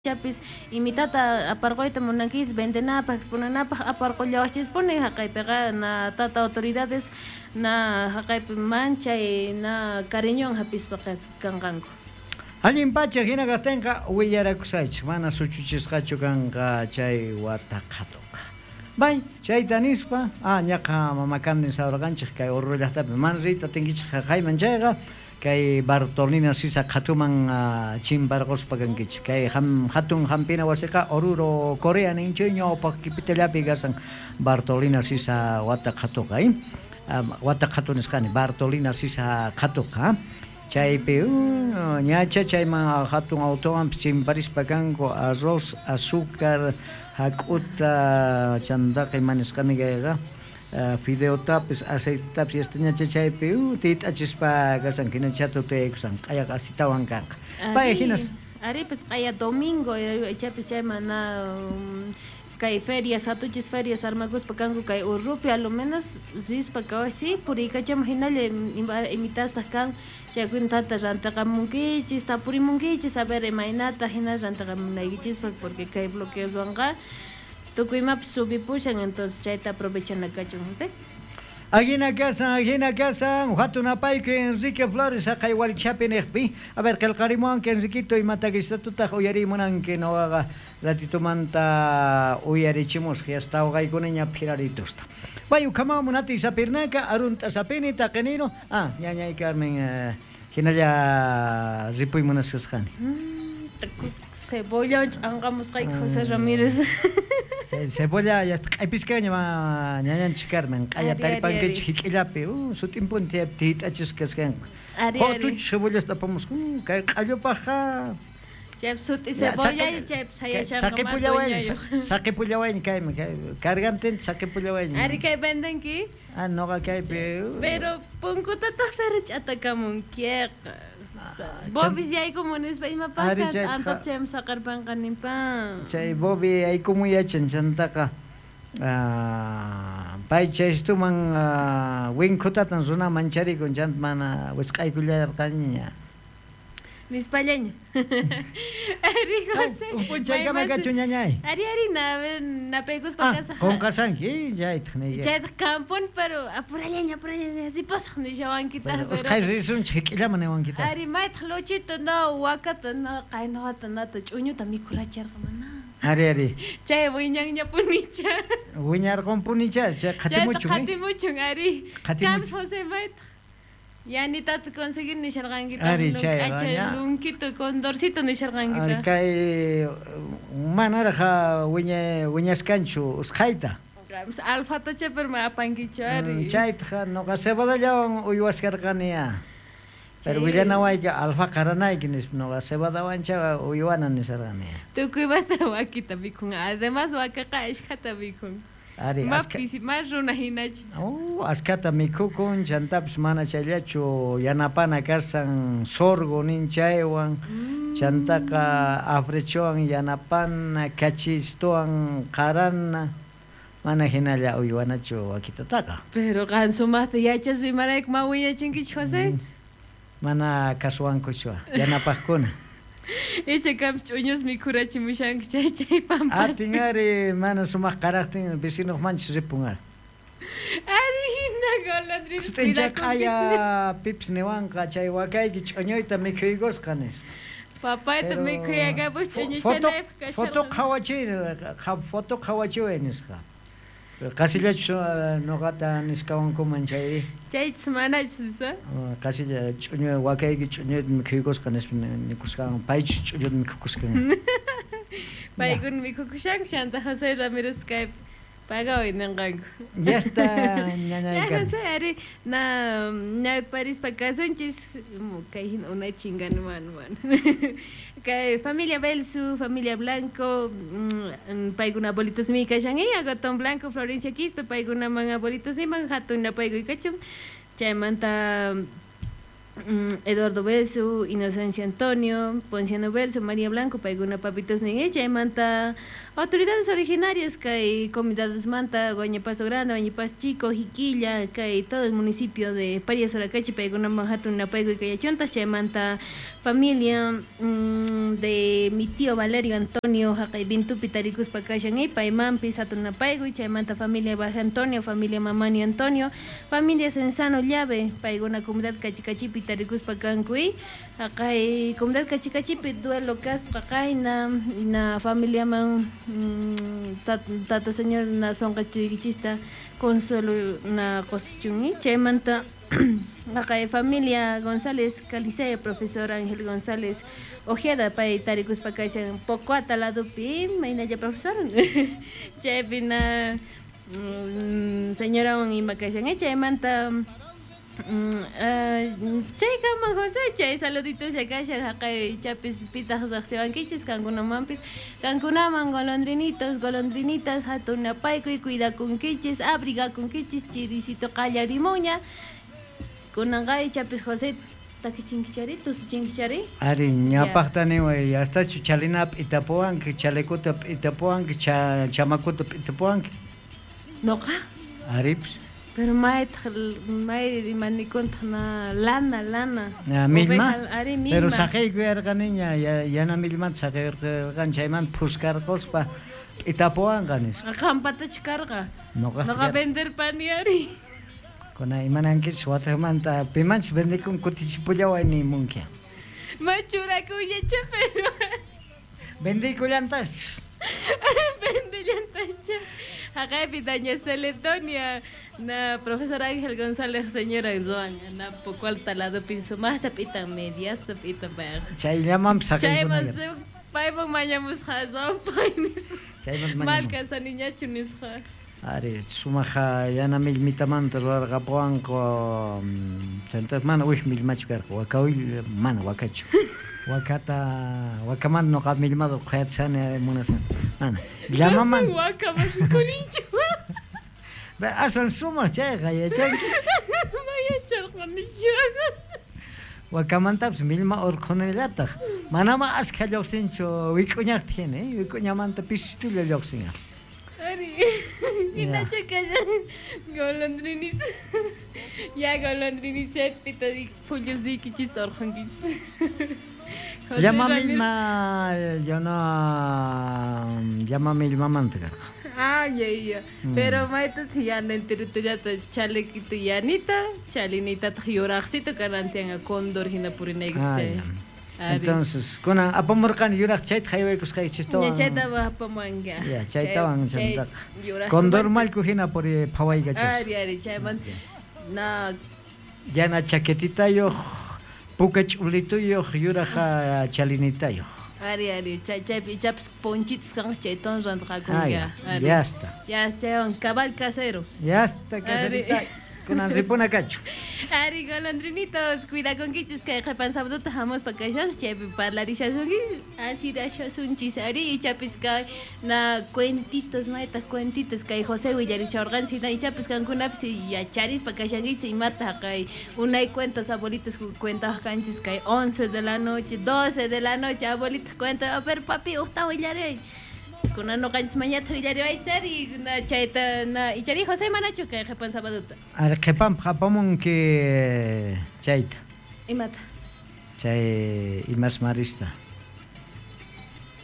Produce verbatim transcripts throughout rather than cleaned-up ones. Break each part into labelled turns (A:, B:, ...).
A: Chapis imitata aparquyta munankis vendenapaj exponenapaj aparqullawaqchispuni haqaypiqa na tata autoridades na haqaypi manchay na cariñowan hapispa kanqanku.
B: Allin pacha hina kaqtinqa willarakusaychik mana suchuchisqachu kanqa chay wata qhatuqa. Bay, chayta nispa, ah, ñaqa mama Carmen sawraqanchik kay Oruro llaqtapi mana riyta atinkichik haqayman chayqa kay Bartolina Sisa qhatuman uh, chimparquspa kankichik. Kay ham, hatun hampina wasiqa Oruro Corea ninchu ñawpaq kipitallapi kasan Bartolina Sisa wata qhatuqa, eh? Um, wata qhatu nisqani Bartolina Sisa qhatuqa. Chaypi uh, ñacha chayman hatun autowanpis chimparispa kanku arroz, azúcar, hak'uta chantaqa ima nisqani kayqa Uh, fideotapis, aceitetapis yasta ñacha chaypi uh, tit'achispa kasan hina chatu tiyaykusan q'ayaqa asitawan kanqa. Pay hinas
A: ari pues q'aya domingo ichapis chayman na um, kay ferias hatuchis ferias armakuspa kanku kay Urrupi a lo menos rispa kawasi puriykachama hinalla imitastaq kan chaykuna tata rantiqamunkichis tapurimunkichis a ver imaynata hina rantiqamunaykichispaq porque kay bloqueoswanqa tukuy imapis subipushan entonces chayta aprovechana kachun José.
B: Ajina kasan, ajina kasan, hatun apayku Enrique Flores haqay walchapi niqpi. A ver, qillqarimuwanki Enriquito imatakistutaq uyarimunanki nuqaqa ratitumanta uyarichimusaq yasta awqaykunaña phiraritusta. Bay ukhaman munati sapirnaka arunta sapini taqinino. Ah, ñañay Carmen, eh, hinalla ripuy munasqasqani.
A: Mm, cebolla ch'anqamusqayki José Ramírez.
B: Cebolla ya q'aypiskaña ñañanchik Carmen q'aya taripankichik hik'illapi uh, sut'inpuni tiyt'achisqa kasqanqa. Hutuch cebollasta apamusqa uh, kay q'allupaqqa
A: chaypi sut'i cebolla chaypi sayashanqa
B: saqipullawayña saqipullawayña kaymi kay cargantinta saqipullawayña.
A: Ari kay vendenki?
B: Ah, noqa kaypi
A: uh. Pero punkutataq pero ch'atakamunkiqa. Bobis yaykumun nispa imapaqqa antap chaymi saqarpanqa ninpan.
B: Chay Bobby yaykumun yachan chantaqa pay chaystuman winkhutatan runa mancharikun chanta mana wisq'aykullarqaña.
A: Nispallaña. Ari José.
B: P'unchaykama kachu ñañay.
A: Ari ari na napaykuspa kasaq.
B: Qunqasanki chaytaq niyki.
A: Chaytaq kampun pero apurallaña apurallaña ripusaq nishawankitaq pero.
B: Usqhay risunchik hik'illaman niwankitaq.
A: Ari maytaq Luchito no wakata no qaynuwata nata ch'uñuta mikhuracharqa mana.
B: Ari ari.
A: Chay wiñanñapunicha.
B: Wiñarqunpunicha chay qhatimuchun.
A: Qhatimuchun ari. Kams José maytaq. Yanitata conseguir nisharqankitaq k'acha lunkito condorcito nisharqankitaq.
B: Ari kay manaraq wiña wiñaskanchu usqhayta.
A: Alfatacha pero ma apankichu ari.
B: Chaytaqa nuqa cebadallawan uywaskarqani. Pero willanawayki alfa qaranayki nispa nuqa cebadawancha uywana nisharqani.
A: Tukuymanta wakita mikhun. Además wakaqa ashkhata mikhun.
B: Ari,
A: ma pisi, ma runa hinachu.
B: Oh, ashkata mikhukun, chantapis mana chayllachu yanapana kasan sorgo ninchaywan, mm. chantaqa afrechowan yanapana, kachistuwan qarana, mana hinalla uywanachu wakitataqa.
A: Pero qan sumaqta yachaspa imarayku ma wiñachinkichu José?
B: Mm. Mana kasuwankuchu yanapaqkuna.
A: Icha kampis ch'uñus mikhurachimushanki chay chay pampaspi.
B: Atin ari mana sumaq qaraqtin vecinuq manchis ripun ari.
A: Ari hina golondrina
B: Sut'incha q'aya pipis niwanqa chay wakayki ch'uñuyta mikhuykusqa nispa.
A: Papayta mikhuyakapus ch'uñuchanaypaq kasharqa.
B: Foto qhawachiy, foto qhawachiway nisqa. Qasillachu nuqata nisqawankuman chay.
A: Chaychis manachu nispa?
B: Qasilla ch'uñu wakayki ch'uñuyta mikhuykusqa nispa nikusqan paychu ch'uñuta mikhukusqan.
A: Paykuna mikhukushanku chanta José Ramírez kaypi pagaway ninqanku.
B: Ya está ñañay.
A: Ya José ari na ñawparispa kasunchis kay hina unay chingani mana mana. Kay familia Belsu, familia Blanco, paykuna abuelitos mi kashan Agatón Blanco, Florencia Quispe, paykunaman abuelitos niman hatun napaykuy kachun. Chaymanta Eduardo Belsu, Inocencia Antonio, Ponciano Belsu, María Blanco, paykuna papitos nin chaymanta autoridades originarias kay comunidades manta, Guañapasto Grande, Guañapasto Chico, Jiquilla, kay todo el municipio de Parias Uracachi, paykunaman hatun napaykuy kayachunta, chaymanta Familia mm, de mi tío Valerio Antonio haqay Vintupi tarikuspa kashan y paymanpis hatun napaykuy. Chaymanta familia Baja Antonio, familia Mamani Antonio, familia Sensano Llave, paykuna comunidad Kachikachipi tarikuspa kanku y haqay comunidad Kachikachipi duelo kasqa qayna na familiaman mm, tata señor na sonqachuykichista consuelo na qosuchun. Chaymanta haqay familia González Calicea, profesor Ángel González Ojeda, pay tarikuspa kashan Pocoata ladopi, maynalla profesor. Chaypi na mm, señorawan ima kashan. Chaymanta chaykaman José, chay saluditos kashan haqay chapis pitaq riqsiwankichis kankunamanpis, kankunaman golondrinitos, golondrinitas hatun napaykuy, cuidakunkichis, abrigakunkichis, chirisito qallarimunña. Kunanqa ichapis José takichinkichari, tusuchinkichari.
B: Ari, ñapaqta niway, hastachu chalina p'itapuwanki, chalekuta p'itapuwanki, cha, chamakuta p'itapuwanki.
A: Noqa?
B: Aripis.
A: Pero maytaq may imanikuntaq na lana, lana.
B: Na millma.
A: Ari millma.
B: Pero saqeykuyarqaniña, yana millmanta saqeyrqan chaymanta phuskarquspa p'itapuwanqa nispa.
A: Qampatachu karqa?
B: Noqa.
A: Noqa venderpani ari.
B: Kuna imanankichis wataqmanta pimanchus vendikun kutichipullaway nimunki.
A: Machurakullacha pero.
B: Vendikullantas.
A: Vendellantascha. Haqaypi doña Celedonia, na profesor Ángel González señora Zoan, na poco ladopi sumaqta p'itan mediasta p'itan payqa.
B: Chayllamanpis
A: saqeykunalla. Chayman payman mañamusqa Zoan pay nispa.
B: Chayman mañamus.
A: Mal kasaniñachu nisqa.
B: Ari, sumaqa yana millmitamanta rurarqapuwanku, chantaq mana uy millmachu karqa, waka uy mana wakachu. Wakata, wakamanta noqa millmata qhayachani munasani. Mana, llamaman.
A: Wakaman rikurinchu.
B: Aswan sumaq chayqa yachanki.
A: Mayacharqanichu.
B: Wakamantapis millma urqhunillataq. Manama askha lluqsinchu wik'uñaqta hina, eh? Wik'uñamanta pisitulla lluqsin.
A: Ari, hinachu kashan golondrinita. Ya golondrinita pita phullus niykichista urqhunkichis.
B: Llama millma, yana llama millmamanta karqa.
A: Ah, ya, ya. Pero maytataq yana enteritullata chalequito yanita, chalinitataq yuraqsito kanantianqa cóndor hina purinaykita.
B: Entonces, kunan apamurqani yuraq chayta haywaykusqaykichistawan.
A: Ya chayta apamuwanka.
B: Ya, chaytawan chantaqa. Cóndor mallku hina puri phawaykachas.
A: Ari, ari, chaymanta na
B: yana chaquetitayuq, puka ch'ulituyuq, yuraq chalinitayuq.
A: Ari, ari, chay chaypi ichapas ponchitos kanqa chaytawan rantaqakunka.
B: Ya está.
A: Ya, chaywan cabal casero.
B: Ya está, caserita. Kunan ripuna kachu.
A: Ari, golondrinitos, cuidakunkichis kay qhipan sabaduta hamuspa kashas chaypi parlarishasunki, asirashasunchis ari, ichapis kay na cuentitos, maytaq cuentitos kay José willarishawarqanchis hina ichapis kankunapis yacharispa kashankichis imata kay unay cuentos abuelitos cuentawaq kanchis kay once de la noche, doce de la noche abuelitos cuentan, a ver papi, uqta willaray. Kunan noqanchis mañata willariwaychari na chayta na ichari José manachu kay qhipan sabaduta.
B: Ari qhipanpaq apamunki chayta.
A: Imata?
B: Chay imas marista.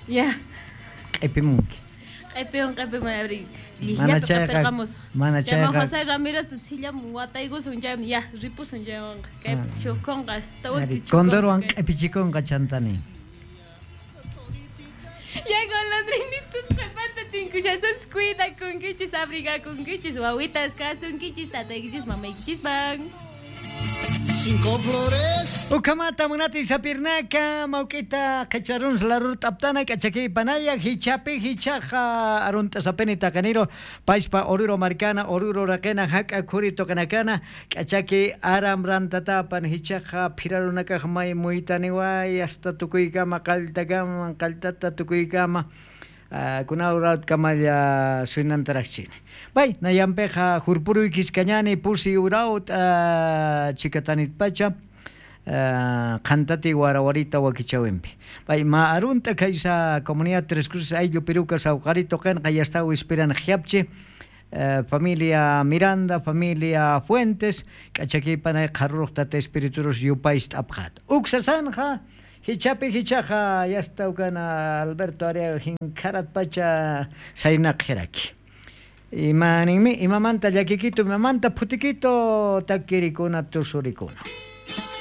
A: Ya.
B: Q'ipimunki.
A: Q'ipimun q'ipimun ari lliqllapi q'ipirqamusaq.
B: Mana chayqa.
A: José Ramírez sillam wataykusun chaymi ya ripusun chaywanqa kay chukunqa hasta último.
B: Condorwan q'ipichikunqa chantani.
A: Ya golondrinitos qhipanta tinkushasunchis, cuidakunkichis, abrigakunkichis, wawitas kasunkichis, tataykichis, mamaykichisman.
C: Cinco flores.
B: Ukamata munati sapirnaka mawk'ita qhichwarunas larur t'aptana k'achaki panaya hichapi hichaqa arunta sapeni taqaniro paispa oruro markana oruro raqena hak'a khuri toqanakana k'achaki aram rantatapan hichaqa phirarunakaq may muytaniway hasta tukuykama qalltakama qalltata tukuykama kunawrat kamalla suynantaraqchini. Bay, nayampeqa hurpuruykis kañani pusi urawt chikatanit pacha qantati warawarita wakichawinpi. Bay, ma arunta kaysa comunidad Tres Cruces ayllu Piruca sawqarito qinqa yastaw ispiran jiapchi familia Miranda, familia Fuentes, k'achakipanay qharruq tata espiriturus yupaysta apqata. Uksasanja Hichapi hichaqa yastawkana Alberto Ariaga hinkharat pacha saynaqiraki. Ima ninmi imamanta llakikito imamanta phutikito takirikuna tusurikuna.